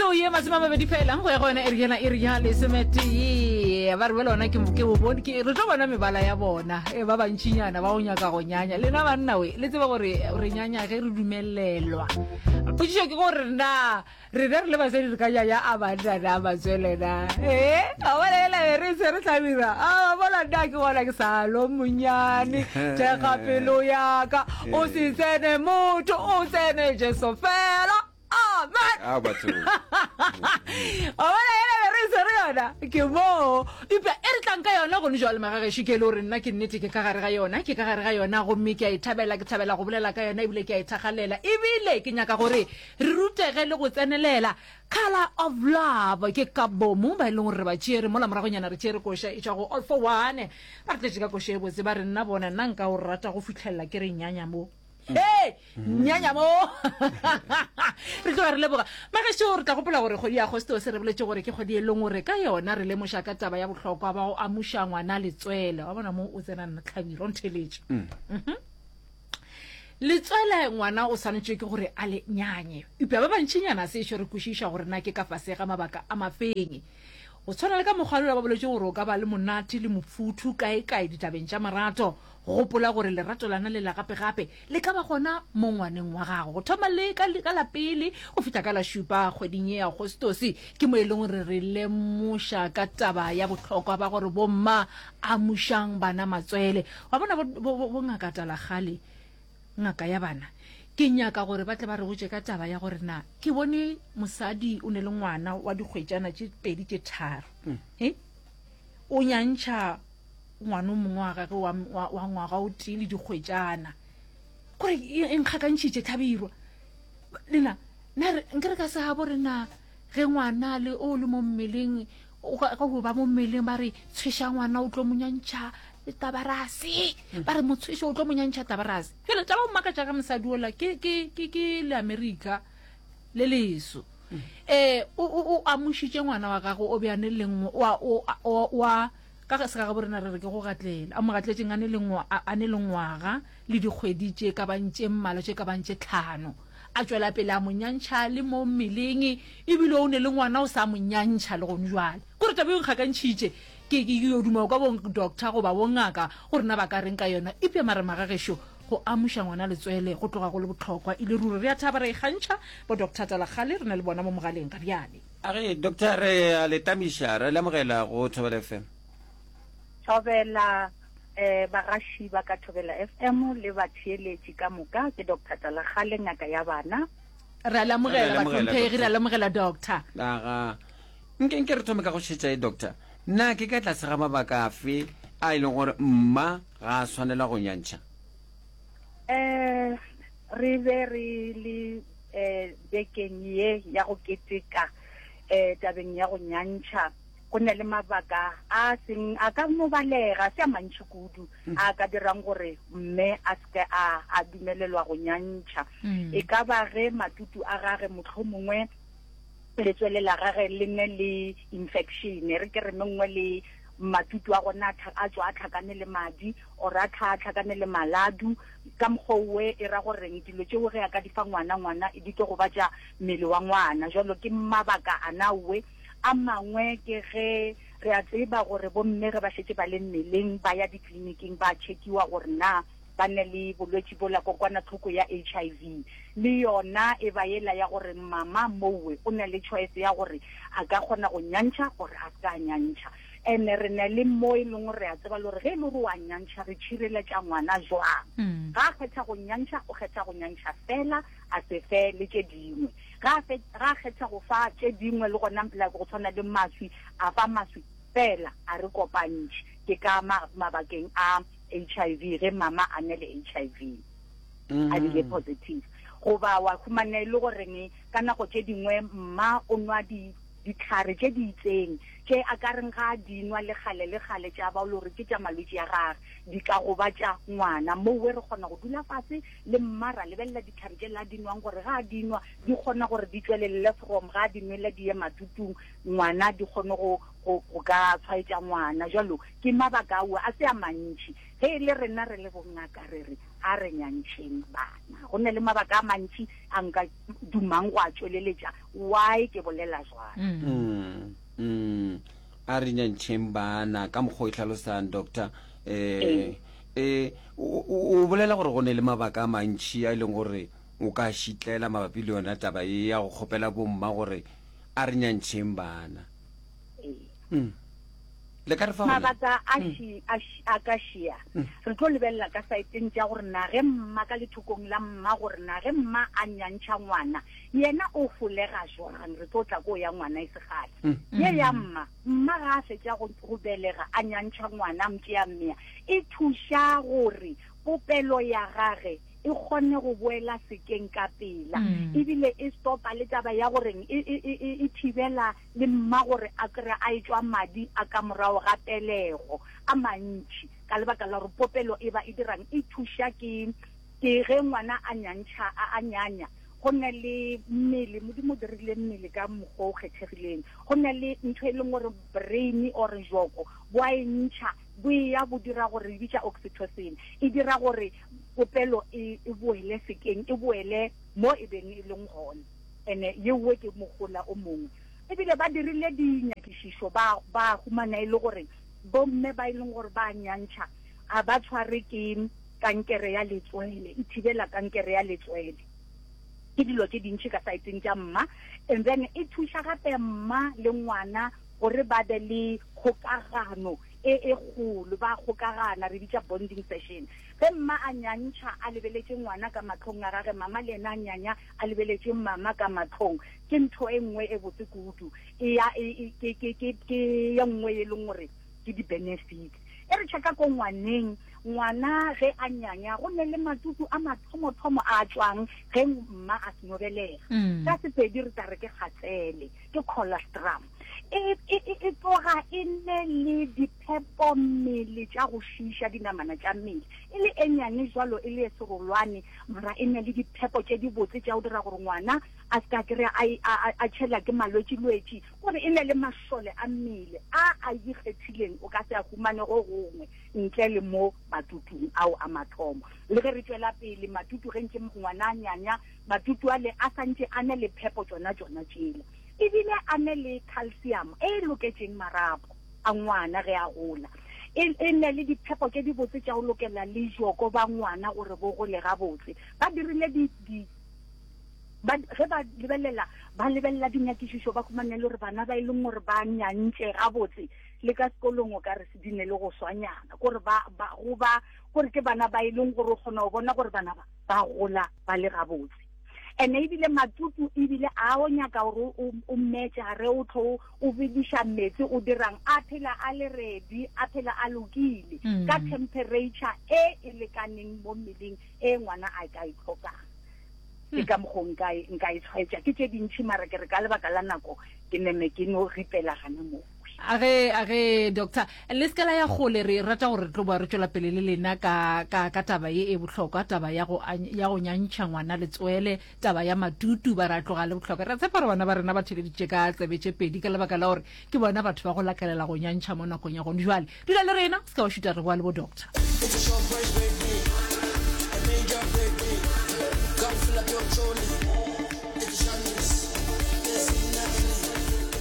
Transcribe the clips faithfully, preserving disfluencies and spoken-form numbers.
Metsotso ye masome a mabedi fela go ya go yona iri yela iri ya lesometee. Ba re bjale gona ke ke bo bone ke re tlo bona mebala ya bona e ba bantšinyana ba go nyaka go nyanya. Lena banna we le tseba gore re nyanya ge re dumelelwa. Potšišo ke gore na rena re le basadi re ka nyanya a banna na matswele na? Ee, a bona ela be re se re hlabira. A bona nna ke gona ke sa lo monyane thekga pelo ya ka o se tsene motho o tsene Jesu fela. Amen. A batho. Wa bona ela be re swere yona ke moo eupša e re tlang ka yona gone jwale magagešo ke e le gore nna ke nnete ke ka gare ga yona ke ka gare ga yona gomme ke a e thabela ke thabela go bolela ka yona ebile ke a e thakgalela ebile ke nyaka gore re rutege le go tsenelela Colour of Love ke ka bomo ba e leng gore re ba tšere mola moragonyana re tšere koša e tšwa go All for One ba re tletše ka koša e botse ba re nna bona nna nka o rata go fihlelela ke re nyanya mo Hei, nyanya mo. Re tloga re leboga. Magešo, re tla gopola gore kgwedi ya Agostose re boletše gore ke kgwedi e leng gore ka yona re lemoša ka taba ya bohlokwa ba go amuša ngwana letswele. Wa bona mo o tsena nna Hlabirwa, o ntheletše. Mhm. Letswele ngwana o swanetše ke gore a le nyanye. Eupša ba bantšinyana sešo re kwešiša gore na ke ka fase ga mabaka a mafeng. Go tshwana le ka mokgwa lola ba boletše gore o ka ba le monate le mofuthu kae-kae ditabeng tša marato. Gopola gore lerato lana le la gape-gape le ka ba gona mo ngwaneng wa gago. Go thoma le ka, ka la pele go fihla ka la šupa kgweding ye ya Agostose ke mo e leng gore re lemoša ka taba ya bohlokwa ba gore bomma amušang bana matswele. Wa bona bo, bo, bo, bo Ngaka Talakgale, ngaka ya bana, ke nyaka gore ba tle ba re botše ka taba ya gore na ke bone mosadi o ne le ngwana wa dikgwetšana tše pedi tše tharo. He? O nyantšha ngwana o mongwe wa gagwe wa, wa, wa ngwaga o tee le dikgwetšana. Kore e, e nkgakantšhitše Hlabirwa. Lena, na re, nke re ka se gabo re na ge ngwana le o le mo mmeleng, o ka, ka go ba mo mmeleng ba re tshweša ngwana o tlo mo nyantšha tabarase. Ba re mo tshweše o tlo mo nyantšha tabarase. Bjale taba o mmakatša ka mosadi ola ke, ke, ke, ke le Amerika le leso. Eh, o, o, o amošitše ngwana wa gagwe o be a ne le ngwe, wa, o, o, wa, ka ge se ga gabo rena re re ke go gatlela, a mo gatletšeng a ne le ngwa, a, a ne le ngwaga le dikgwedi tše ka bang tše mmalwa tše ka bang tše tlhano. A tšwela pele a mo nyantšha le mo mmeleng, ebile o ne le ngwana o sa mo nyantšha le gone jwale. Kore taba e nkgakantšhitše, ke, ke, ke yo duma kwa bo doctor goba bo ngaka gore na ba ka reng ka yona. Eupša mara magagešo, go amuša ngwana letswele go tloga go le bohlokwa e le ruri. Re a thaba re ikgantšha bo Doctor Talakgale re na le bona mo mogaleng ga bjale. A re, Doctor, re a le tamiša, re le amogela go Thobela F M. Thobela, eh, bagaši ba ka Thobela F M le batheeletši ka moka, ke Doctor Talakgale, ngaka ya bana. Re a le amogela, Re a le amogela, bahlomphegi, re a Doctor. le amogela, Doctor. Aga, nke, nke re thome ka go šetša e, Doctor. Na ke ka tlase ga mabaka afe a e leng gore mma ga a swanela go nyantšha? Eh, re be re le, eh, bekeng ye ya go keteka, eh, tabeng ya go nyantšha. Go na le mabaka a seng a ka no balega, se a mantši kudu, Mm. a ka dirang gore mme a seke a, a dumelelwa go nyantšha. Mm. E ka ba ge matutu a gage mohlomongwe letswele la gage le ne le infection, re ke re mengwe le matutu a gona a tlha-, a tswa a tlhakane le madi, or a tlha-, a tlhakane le maladu. Ka mokgwa owe e ra goreng dilo tšeo ge a ka di fa ngwana, ngwana di tlo gobatša mmele wa ngwana. Jwalo ke mabaka ana owe. A mangwe ke ge re a tseba gore bomme ge ba šetše ba le mmeleng ba ya ditleliniking ba checkiwa gore na ba ne le bolwetši bola kokwanahloko ya H I V. Le yona e ba yela ya gore mama mowe o na le choice ya gore a ka kgona go nyantšha gore a se ka nyantšha. Ene re na le mo e leng gore re a tseba le gore ge e le gore wa nyantšha re tšhireletša ngwana jwang. Mm. Ga a kgetha go nyantšha, o kgetha go nyantšha fela, a se fe le tše dingwe. Ga a fe-, ga a kgetha go fa tše dingwe le gona, like go tshwana le maswi, a fa maswi fela, a re kopantšhe. Ke ka ma-, mabakeng a H I V, ge mama a ne le H I V, a bile Mm. positive. Goba wa humana e le goreng ka nako tše dingwe mma o nwa di-, ditlhare tše di itseng tše a ka reng ga a di nwa le kgale le kgale tša ba o le gore ke tša malwetši a gagwe, di ka gobatša ngwana. Mowe re kgona go dula fase le mma ra lebelela ditlhare tše la di nwang gore ga a di nwa di kgona gore di tšwelelele from ga a di nwele di ye matutung ngwana di kgone go, go, go ka tshwaetša ngwana. Jwalo ke mabaka ao a se a mantši. Ge e le rena re le bongaka re re A re nyantšheng bana. Go na le mabaka a mantši a nka dumang go a tšweleletša why ke bolela jwalo. Mm, mm. A re nyantšheng bana ka mokgwa o e hlalosang, doctor. Eh, eh, o, o, o bolela gore go ne le mabaka a mantši a e leng gore o ka šitlela mabapi le yona taba ye ya go kgopela bomma gore a re nyantšheng bana. Ee. Mm. Le ka re fa gona? Mabaka a ši, a ši, a ka šia. Re tlo lebelela ka saeteng tša gore na ge mma ka lethokong la mma gore na ge mma a nyantšha ngwana yena o holega jwang. Re tlo tla ko ya ngwana e se kgale. Ye ya mma, mma ga a fetša go, go belega a nyantšha ngwana a mtšea mmea, e thuša gore popelo ya gage e kgone go boela sekeng ka pela. Ebile e stopa le taba ya goreng e, e, e, e, e thibela le mma gore a kry-e a etšwa madi a ka morago ga pelego a mantši, ka lebaka la gore popelo e ba e dirang e thuša ke, ke ge ngwana a nyantšha, a, a nyanya. Go na le mmele, Modimo o dirile mmele ka mokgwa o kgethegileng. Go na le ntho e leng gore brain or joko bo a e ntšha, bo e ya bo dira gore e bitša oxytocin, e dira gore popelo e, e boele sekeng, e boele mo e beng e leng gona. Ene yeo ke mogola o mongwe. Ebile ba dirile dinyakišišo, ba, ba humana e le gore bomme ba e leng gore ba nyantšha ga ba tshware ke kankere ya letswele, e thibela kankere ya letswele. Ke dilo tše dintši ka saeteng tša mma. And then e thuša gape mma le ngwana gore ba be le kgokagano e e kgolo, ba kgokagana, re bitša bonding session. Ge mma a nyantšha a lebeletše ngwana ka mahlong a gage, mama le yena a nyanya a lebeletše mama ka mahlong, ke ntho e nngwe e botse kudu. E ya, e, e, ke, ke, ke, ke ye nngwe e leng gore ke di-benefits. E re checka ko ngwaneng, ngwana ge a nyanya go ne le matutu a mathomothomo a tšwang ge mma a seno belega. Mm. Ka Sepedi re tla re ke kgatsele, ke colostrum. E, e, e, e tloga e ne le diphepo mmele tša go šiiša dinamana tša mmele. E le e nyane jwalo, e le e serolwane, mara e ne le diphepo tše dibotse tša go dira gore ngwana a se ka kry-a a, a, a, a tšhela ke malwetšilwetši, gore e ne le mašole a mmele a a ikgethileng o ka se a humane go gongwe ntle le mo matutung ao a mathomo. Le ge re tšwela pele matutu, ge ntše ngwana a nyanya, matutu ale a santše a ne le phepo tšona tšona tšela, ebile a ne le calcium e loketšeng marapo a ngwana ge a gola. E, e ne le diphepo tše dibotse tša go lokela le joko ba ngwana gore bo gole gabotse. Ba dirile di, di, ba, ge ba lebelela, ba lebelela dinyakišišo, ba humane le gore bana ba e leng gore ba nyantše gabotse le ka sekolong o ka re se di ne le go swanyana, kore ba, ba, go ba, kore ke bana ba e leng gore o kgona go bona gore bana ba, ba gola ba le gabotse. Ene ebile matutu ebile a o nyaka gore o, o mmetše gare o tlo o bediša metsi o dirang, a phela a le ready, a phela a lokile Mm. ka temperature e e lekaneng mo mmeleng e ngwana a ka e tlhokang. Ke ka mokgo nka e, nka e tshwaetša. Ke tše dintši, mara ke re ka lebaka la nako ke neme ke no ripela gana moo. A ge, a ge doctor, le se ka la ya kgole, re rata gore re tlo boa re tšwela pele le lena ka, ka, ka taba ye e bohlokwa, taba ya go, ya go nyantšha ngwana letswele, taba ya matutu, ba re a tloga le bohlokwa. Re tshepa gore bana ba rena ba theleditše ka tsebe tše pedi ka lebaka la gore ke bona batho ba go lakalela go nyantšha mo nakong ya gone jwale. Dula le rena, se ka wa šuta, re boa le bo doctor.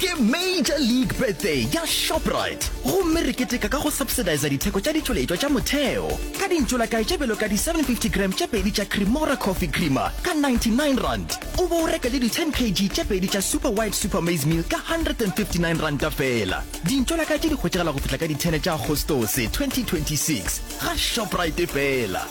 Ke Major League Birthday ya Shoprite, gomme re keteka ka go subsidize ditheko tša ditšweletšwa tša motheo ka dintšolakae tše bjalo ka di seven fifty gram tše pedi tša Cremora Coffee Creamer ka ninety-nine rand, o bo o reka le di ten kg tše pedi tša Super White Super Maize Meal ka hundred and fifty-nine rand fela. Dintšolakae tše di hwetšagala go fihla ka di ten tša Agostose twenty twenty-six ga Shoprite fela.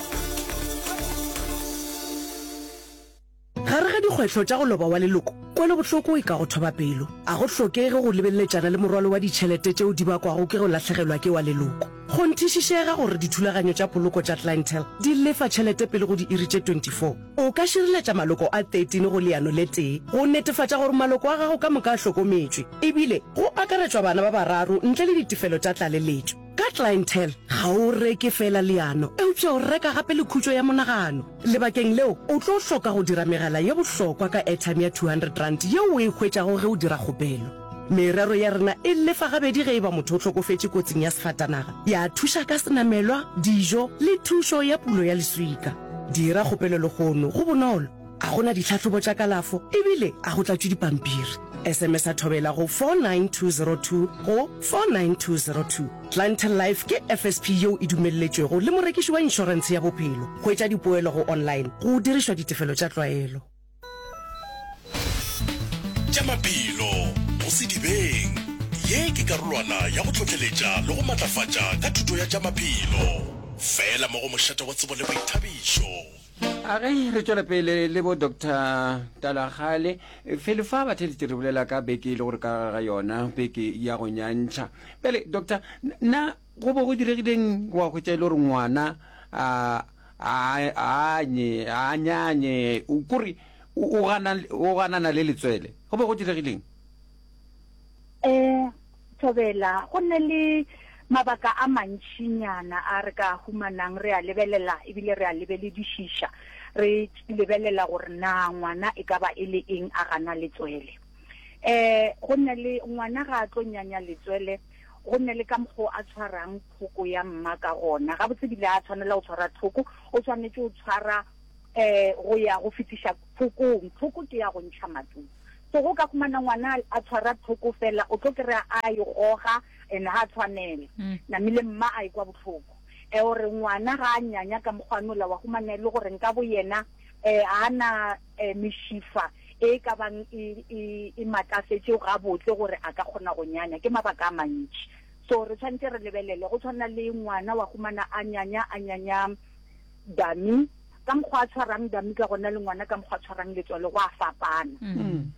Gare ga dikgwetlho tša go loba wa leloko, kwelobohloko e ka go thoba pelo. A go hlokege go lebeleletšana le morwalo wa ditšhelete tšeo di bakwago ke go lahlegelwa ke wa leloko. Kgonthišišega gore dithulaganyo tša poloko tša Clientele di lefa tšhelete pele go diiri tše twenty-four. O ka šireletša maloko a thirteen go leano le tee go netefatša gore maloko a gago ka moka a hlokometšwe, ebile go akaretšwa bana ba bararo ntle le ditefelo tša tlaleletšo. Ka Clientele ga o reke fela leano, eupša o reka gape le khutšo ya monagano. Lebakeng leo o tlo hloka go dira megala ye bohlokwa ka airtime ya two hundred rand yeo o e hwetšago ge o dira kgopelo. Merero ya rena e lefa gabedi ge e ba motho o hlokofetše kotsing ya sefatanaga, ya thuša ka senamelwa, dijo le thušo ya pulo ya leswika. Dira kgopelo lehono, go bonolo, a go na ditlhahlobo tša kalafo ebile a go tlatšwe dipampiri. S M S-a Thobela go four nine two zero two go four nine two zero two. Clientele Life ke F S P yeo e dumelletšwego le morekiši wa inšorentshe ya bophelo. Hwetša dipoelo go online go dirišwa ditefelo tša tlwaelo. Tša maphelo go sedibeng. Ye ke karolwana ya go hlohleletša le go matlafatša ka thuto ya tša maphelo. Fela mo go mošate wa tsebo le boithabišo. A ge re tšwela pele le bo Doctor Talagale, felo fa batheeletši re bolela ka beke e le gore ka ga yona beke ya go nyantšha. Bjale Doctor, na go bo go diregileng wa hwetša e le gore ngwana a a anye a nyanye kore o gana o ganana le letswele? Go be go diregileng? Eh, Thobela, go ne le mabaka a mantšinyana a re ka humanang re a lebelela ebile re a lebeledišiša, re lebelela gore na ngwana e ka ba e le eng a gana letswele. Eh, go ne le ngwana ga a tlo nyanya letswele, go ne le ka mokgwa o a tshwarang thoko ya mma ka gona. Gabotse bile a tshwanela go tshwara thoko, o swanetše go tshwara eh go ya go fetiša thokong. Thoko ke ya go ntšha matutu. So go ka humana ngwana a tshwara thoko fela, o tlo kry-a a e goga and ha tshwanela. Namile mma a ekwa bohloko. E ore ngwana ga a nyanya ka mokgwa wa humana e le gore nka bo yena eh ha na eh, mešifa e ka bang e e e matlafetše gabotse gore a ka kgona go nyanya. Ke mabaka a mantši. So re tshwanetse re lebelele go tshwana le ngwana wa humana a nyanya a nyanya dami ka mokgwa a tshwarang dami ka gona le ngwana ka mokgwa a tshwarang letswalo go a fapana.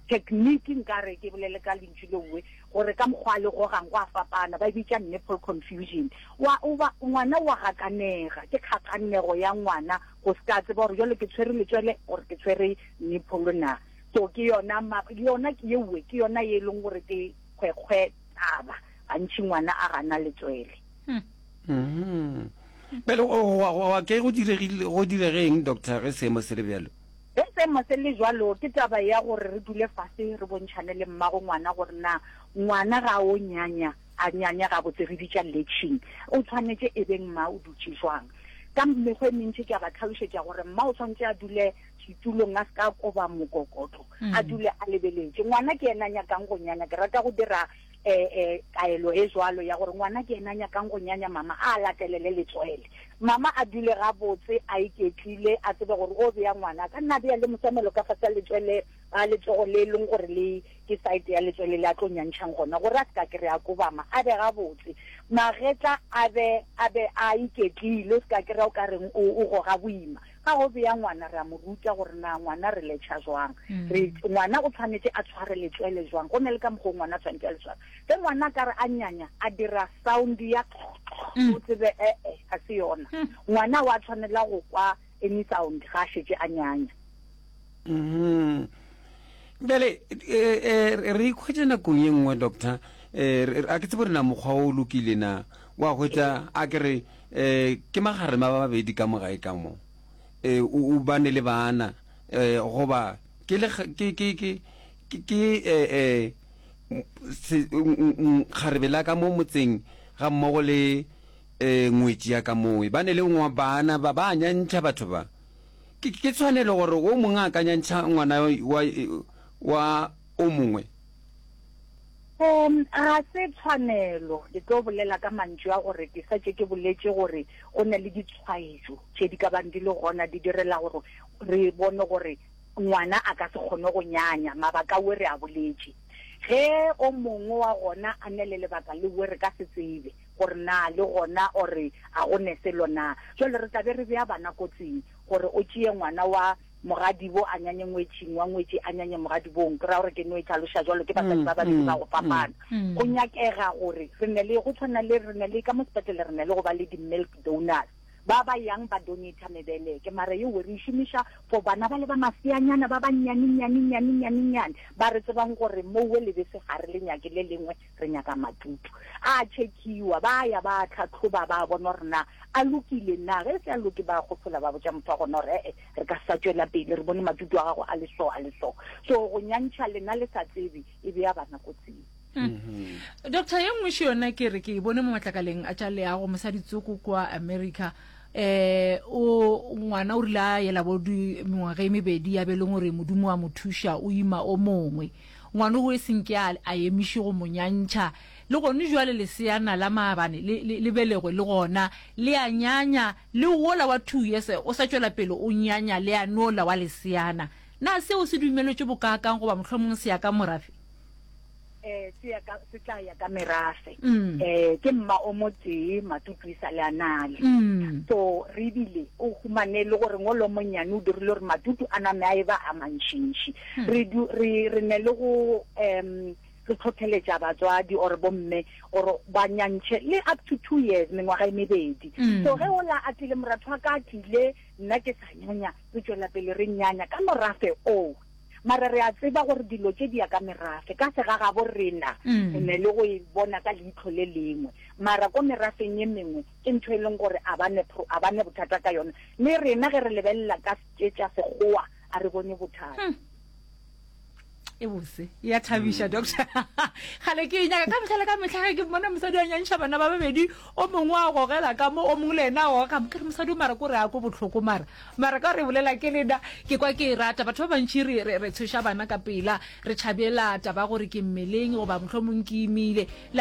Technique nkare ke bolele ka lentšu leuwe gore ka mokgwa a le gogang go a fapana, ba e bitša nipple confusion. Wa o ba ngwana wa gakanega, ke kgakanego ya ngwana go se ka tseba gore jwale ke tshwere letswele gore ke tshwere nipple na. So ke yona yona ke yeuwe ke yona ye e leng gore ke kgwekgwe taba gantši ngwana a gana letswele. Mhm. Bjale wa ke go diregile go diregeng doctor ge seemo se le bjalo? Ge seemo se le jwalo ke taba ya gore re dule fase re bontšhane le mmago ngwana gore na ngwana ga o nyanya a nyanya gabotse, re bitša latching, o tshwanetše e beng mma o dutše jwang. Ka mekgwa e mentši ke a ba tlhalošetša gore mma o tshwanetše a dule setulong a se ka koba mokokotlo, a dule a lebeletše ngwana ke yena a nyakang go nyanya. Ke rata go dira eh eh kaelo e jwalo ya gore ngwana ke yena a nyakang go nyanya, mama a latelele letswele, mama a dule gabotse a iketlile, a tsebe gore o beya ngwana ka nna bea le mosamelo ka fase letswele a letsogo le leng gore le ke side ya letswele le a tlo nyantšhang gona, gore a se ka kry a kobama, a be gabotse, magetla a be a be a iketlile, o se ka kry-a o ka reng o goga boima. Ga go beya ngwana re a mo ruta gore na ngwana re letšha jwang, re ngwana o tshwanetse a tshware letswele jwang, go ne le ka mokgwa o ngwana a tshwanetse a le tshware. Ge ngwana ka re a nyanya a dira sound ya, o tsebe ee ga se yona, ngwana wa tshwanela go kwa any sound ga a šetše a nyanya. Mhm. Bjale re ikhwetša nakong ye nngwe doctor, a ke tsebe gore na mokgwa o lokile na, wa hwetša a ke re ke magarema ba babedi ka mo gae ka mo, o bane le bana goba ke le ke ke ke ke eh kgarebe la ka mo motseng ga mmogo le ngwetši ya ka mowe, ba ne le bana ba ba nyantšha batho ba. Ke ke tshwanelo gore o mongwe a ka nyantšha ngwana wa wa o mongwe? Um ga se tshwanelo. Ke tlo bolela ka mantšu a gore ke sa tše ke boletše gore go na le ditshwaetšo tše di ka bang di le gona di direla gore re bone gore ngwana a ka se kgone go nyanya. Mabaka we re a boletše, ge o mongwe wa gona a ne le lebaka le we re ka se tsebe gore na le gona ore a go ne selo na, jwale re tla be re bea bana kotsing gore o tšee ngwana wa mogadibo a nyanye ngwetšing, wa ngwetši a nyanye mogadibong. Ke ra gore ke no e tlhaloša jwalo, ke basadi ba babedi ba go fapana. Go nyakega gore re ne le go tshwana le re ne le ka mo sepetlele re ne le go ba le di-milk donors ba ba yang ba donata mebeleke, mara yeo re e šomiša for bana ba le ba maseanyana ba ba nnyane nnyane nnyane nnyane nnyane ba re tsebang gore mowe lebese ga re le nyake le lengwe, re nyaka matutu. A checkiwa, ba ya ba tlhatlhoba ba bona gore na a lokile na, ge se a loke ba gopola ba botša motho wa gona gore ee re ka sa tšwela pele, re bone matutu a gago a le so a le so. So go nyantšha lena le sa tsebe e bea bana kotsing. Doctor, ye nngwe še yona ke re ke e bone mo matlakaleng a tša leago, mosadi tsoko kua America, eh o ngwana o rile a yela bo di mengwaga e mebedi ya be leng gore Modimo wa mo thuša o ima o mongwe ngwana o e senke a a emiše go mo nyantšha le gone jwale leseana la maabane le le le belegwe le gona le a nyanya le wola wa two years o sa tšwela pele o nyanya le a nola wa leseana. Na seo se dumeletšwe bokaakang goba mohlomong se ya ka morafe? Eh, se ya ka, se tla ya ka merafe. Eh, ke mma o motee, Matutu e sa le a nale. So, re bile, o humane le gore ngolo monnyane o dirile gore Matutu a name a eba a mantšintši. Re du, re, re ne le go, um, re tlhotlheletša batswadi or bomme gore ba nyantšhe le up to two years, mengwaga e mebedi. So, ge ola a tlile, moratho wa ka a tlile, nna ke sa nyanya, re tšwela pele re nyanya ka morafe oo. Mara re a tseba gore dilo tše di ya ka merafe. Ka segagabo rena re ne le go e bona ka leihlo le lengwe. Mara ko merafeng ye mengwe ke ntho e leng gore a ba ne, a ba ne bothata ka yona. Le rena ge re lebelela ka tše tša Sekgowa a re bone bothata. E bose, e a thabiša, doctor. Kgale ke e nyaka ka mehla le ka mehla ge ke mmona mosadi a nyantšha bana ba babedi, o mongwe a gogela ka mo, o mongwe le yena a goga ka mo. Ke re mosadi o mara ko re a ko bohloko mara. Mara ka gore e bolela ke lena, ke kwa ke e rata. Batho ba bantši re, re, re tshoša bana ka pela, re tšhabela taba ya gore ke mmeleng goba mohlomong ke imile. Le